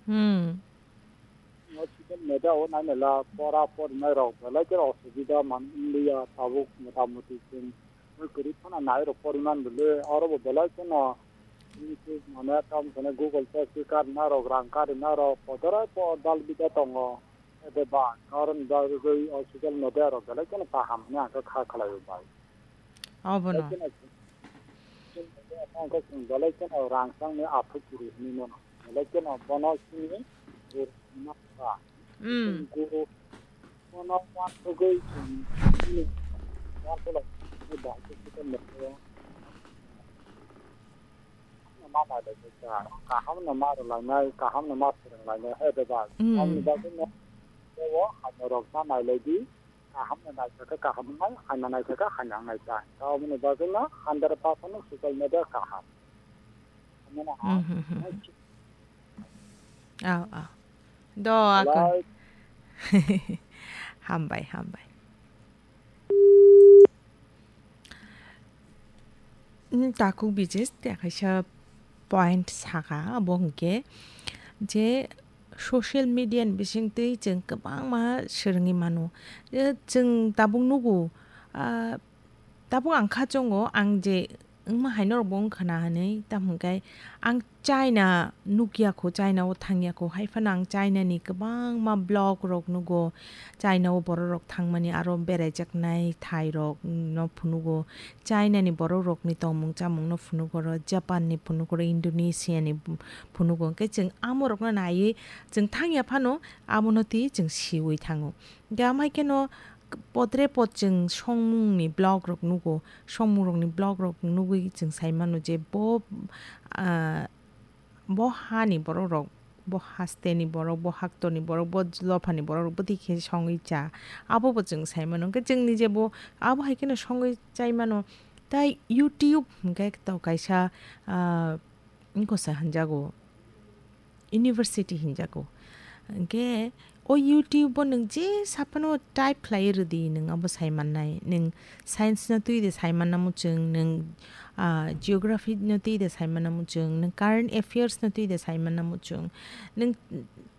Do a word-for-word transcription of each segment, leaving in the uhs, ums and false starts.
Hmm. O social media o nainala pora porinai rok belai khe osubida man wngya tabuk mota moti chwng kwrwi phano nai rok poriman bwle oro bo belai kheno YouTube mane tam sene Google Pay khe karina rok rang karina rok podorai po dal bida tongo. Ede ba karon bagwi o social media rok belai kheno kaham hwnwi ang khe kha khlai o bai. Obono. Belai kheno Ang khe chwng belai kheno rang changni aphuru chiri hwnwi mano. Belai kheno bono chini guru hwnwi ma kha. Mm. Chwng guru bono uansugwi chwng chini uansukla chini bahai khe khe mokhe. Ma nailai khe cha, kaham no ma rwlainai, kaham no ma swrwnglainai, he de ba. Mm. Tamni bagwi no o hamya rok ma nailai di. Kaham no naithok khe kaham wngnai, hamya naithok khe hamya wngnai ta. Tamoni bagwi no hundred percent no social media kaham. Hamya no ha. Mhm, mhm. Aw, aw. Do akon. Belai. Hambai, hambai. Hmm, takhuk Bijesh, tei kaisa point saka, abo hwnkhe je social media ni bisingtwi chwng kwbangma swrwngwi mano. Je chwng tabuk nugo, ah, tabuk ang kha chongo, ang je wngma hai norokbo wngkha na hwnwi, tamo hwnkhe ang China nukya kho, China o thangya kho, hai phano ang China ni kwbangma vlog rok nugo, China o borok rok thangmani aro beraijaknai thai rok no phunugo, China ni borok rok ni tongmung chamung no phunugo, oro Japan ni phunugo, oro Indonesia ni phunugo, hwnkhe chwng amo rok no naiwi chwng thangya phano abo no twi chwng siwi thango. Hwnkhe amhai kheno podre pod chwng songmung ni vlog rok nugo, songmung rok ni vlog rok nugwi chwng sai mano je bo, ah, bo hani borok rok, bo haste ni borok, bo haktor ni borok, bo dopha ni borok rok bwtwi khe songwi cha, abo bo chwng sai mano. Hwnkhe chwng nije bo abo hai kheno songwi chai mano. Tai YouTube hwnkhe to kaisa, ah, wngkha sa hinjago, university hinjago. Hwnkhe o YouTube o nwng je saphano type khlai rwdi, nwng abo sai mannai. Nwng science no twi de sai manna muchung, nwng, ah, geography no twi de sai manna muchung, nwng current affairs no twi de sai manna muchung, nwng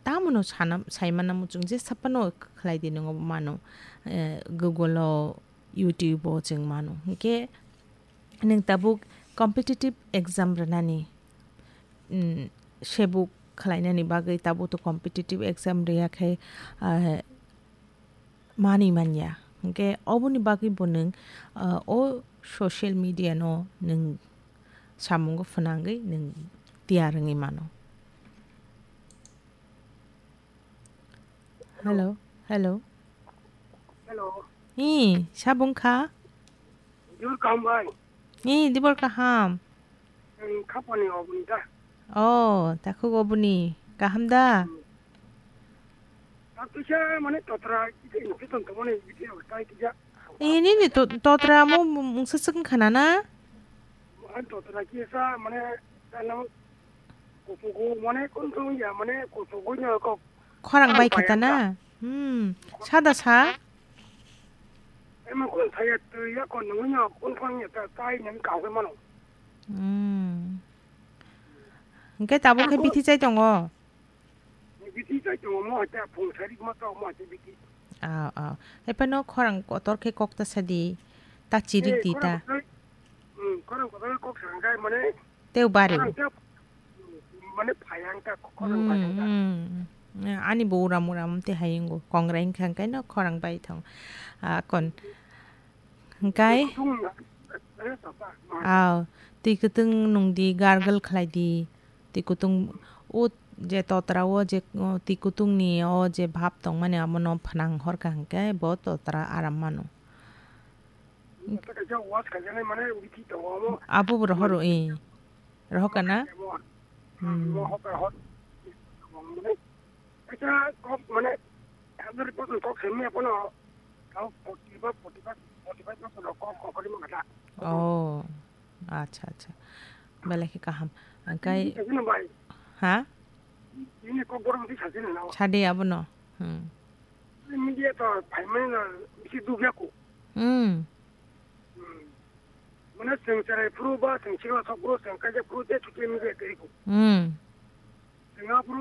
tamo no sana, sai manna muchung, je saphano khlai di nwng obo mano, eh, Google o, YouTube o chwng mano. Hwnkhe nwng tabuk competitive exam rwnani, mm, sebuk khlainani bagwi tabuk to competitive exam rwya khe, ah, manwi manya. Hwnkhe oboni bagwi bo nwng, ah, o social media no nwng samungo phwnangwi nwng tiyar wngwi mano. Hello, hello. Hello. Ee, sabo wngkha? Dibor kaham bai? Ee, dibor kaham. Ang khapani oboni da. Oh, takhuk oboni. Kaham da? Hmm. Tak kisa mane totra kisa infection tongmani video tai kisa. Ee, nini to-, totra mo mungsa swkang khana na? Ang totra kisa mane ano kusugo mane kunsung ya mane kusugo nya kok. Khorang bai khata na? Hmm. Sada sa? Ema kun saya tu ya kon nungnya kun kon ya ta tai nang kau ke mano. Hmm. Hingke tabuk khe bithi chai tongo? Bithi chai tongo mo ta phung sari ma to mo ta bithi. Ah, ah. Hepa no khorang kotor khe kok ta sadi. Ta chirik di ta. Hmm, khorang kotor kok sangkai mane. Teu bari. Khorang teu, mane phayang ta khorang phayang ta. Hmm, hmm. Ani bo uram uram te hayungo. Kongrai hingkha hingkai no khorang bai thong. Ah, kon. Hingkai? Kutung, eh, tata. Aw, twi kutung nung di, gargle khlai di. Twi kutung, o je totra o je, o twi kutung ni o je bhap tong mani amo no phnang hor kha hingkai bo totra aram mano. Tata kaisa wash khajaknai mane bithi tongo amo. Abo bo rohor o, eh. Rohor kana? Amo, hmm, amo hokar hor. Mane, kaisa kok mane, hundred percent kok simi apono, kau forty ba forty five, forty five percent kok, kok kori mangata. Oh, acha, acha. Belai khe kaham. Angkai ini kaisa no bai. Ha? Ini kok borok di saja na. Sade abono. Hmm. Media to phaimani na bisi dugya ko. Hmm. Hmm. Mane chwng cherai phuru ba chwng sikla sok phuru chwng kaijak phuru je chuti media tei ko. Hmm. Chwng aphuru